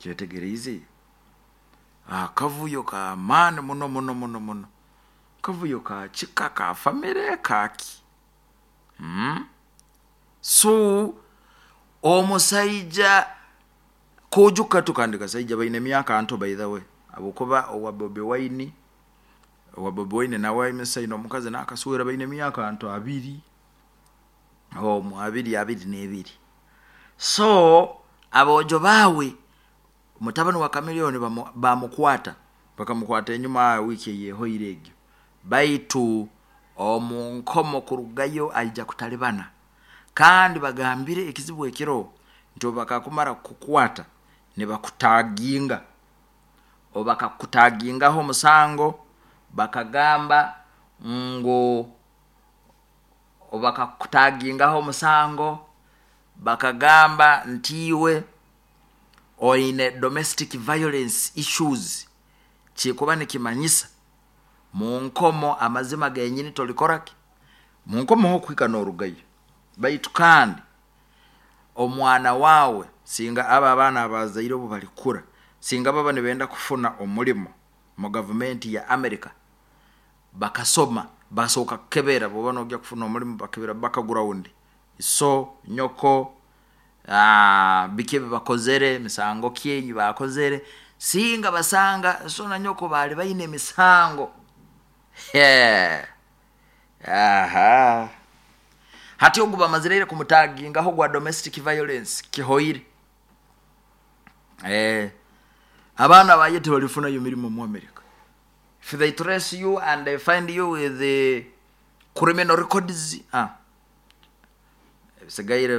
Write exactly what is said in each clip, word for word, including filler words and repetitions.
Kyetegereize akavuyo k'amaani muno muno muno muno, kavuyo ka kika, ka famire, kaki? hmm? So omusaija kojuka tu, kandi kasaija baine emyaka nto, by the way, habwokuba owa Bobi Wine owa Bobi Wine nawe aine omukazi nakaswera, baine emyaka nto abiri omu, abiri, abiri n'ebiri. So aboojo baawe, mutabani wa Chameleone bamukwata, bakamukwata enyuma wiiki eyehoire egyo, baitu omu nkomo kurugayo aija kutalibana. Kandi bagambire ekizibu ekiroho nti obu bakakumara kukukwata nibakutaginga, obu bakakutagingaho omusango, bakagamba ngu obu bakakutagingaho omusango bakagamba nti iwe oine domestic violence issues, kikuba nikimanyisa munkomo amazima genyini tolikoraki munkomo hokuhika norugayo. Baitu kandi omwana wawe, singa abo abaana abazaire obu balikura, singa baba nibenda kufuna omulimo mu gavumenti ya America, bakasoma, basooka kukebera. Obu oba nogenda kufuna omulimo, bakebera background, so nyoko biki ebi bakozere, misango ki eyi bakozere. Singa basanga so na nyoko baali baine emisango, hati ogu bamazire ira kumutagingaho ogwa domestic violence, kihoire. Abaana baye tibalifunayo mirimo mu America. If they trace you and they find you with the criminal records, ah, ebisigaire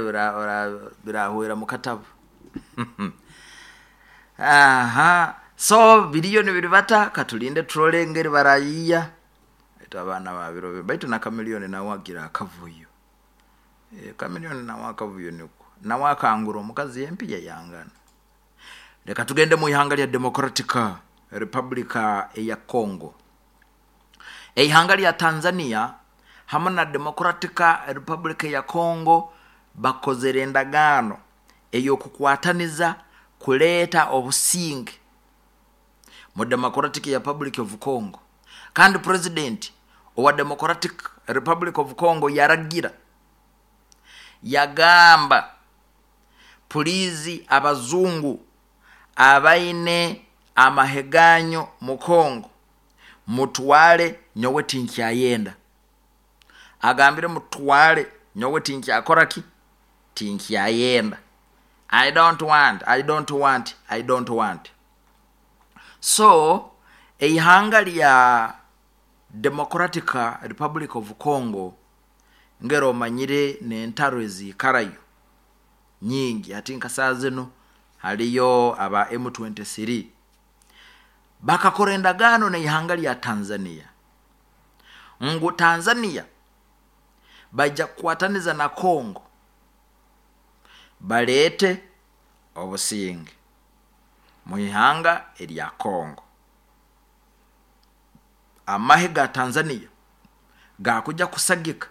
birahwera mukatabu. Aha, so biriyo nibiribata, katulinde turole engeri barayiiya. Baitu abaana babiro binu, baitu na Chameleone nawe agira akavuyo, Chameleone nawe akavuyo niko, nawe akangura omukazi empiya yangana. Reka tugende mu ihanga lya Democratic Republica eya Congo. Eihanga lya Tanzania hamu na Democratic Republic ya Congo bakozere endagaano ey'okukwataniza kuleeta obusinge mu Democratic Republic of Congo. Kandi president owa Democratic Republic of Congo yaragira, yagamba, "Please, abazungu abaine amahe ganyu mu Congo, mutwale, nyowe tinkyayenda." Agambire, "Mutwale, nyowe tinkyakora ki, tinkyayenda. I don't want, I don't want, I don't want." So eihanga lya Democratic Republic of Congo, ngero omanyire n'entaro eziikarayo nyingi, hati nka saa zinu haliyo aba M twenty-three. Bakakora endagaano n'ihanga lya Tanzania ngu Tanzania baija kukwataniza na Congo baleete obusinge mu ihanga erya Congo. Amahe ga Tanzania gakuja kusagika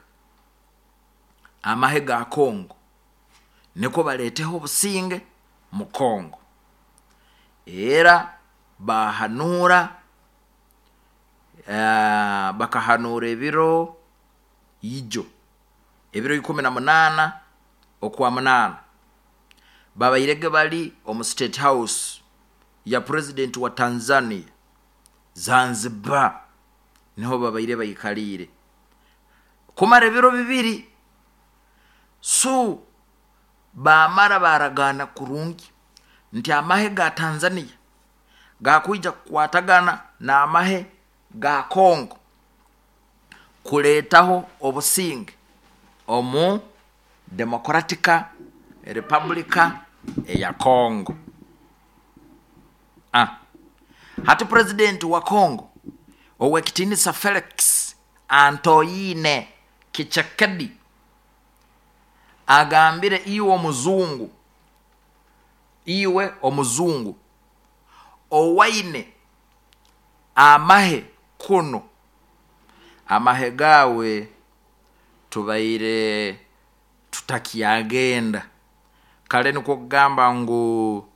amahe ga Congo nikwo baleeteho obusinge mu Congo. Era bahanuura, uh, bakahanuura ebiro ijo, ebiro ikumi na munaana okwa munaana, babairege bali omu State House ya president wa Tanzania, Zanzibar, niho babaire baikaliire kumara ebiro bibiri. So bamara baragaana kurungi nti amahe ga Tanzania gakwija kukwatagana n'amahe ga Congo kuleetaho obusinge omu Democratic Republica eya Congo. Ah. Hati president wa Congo ow'ekitiinisa Felix Antoine Tshisekedi agambire, "Iwe omuzungu, iwe omuzungu owaine amahe kuno, amahe gaawe tubaire tutakyagenda." Kale nikwo kugamba ngu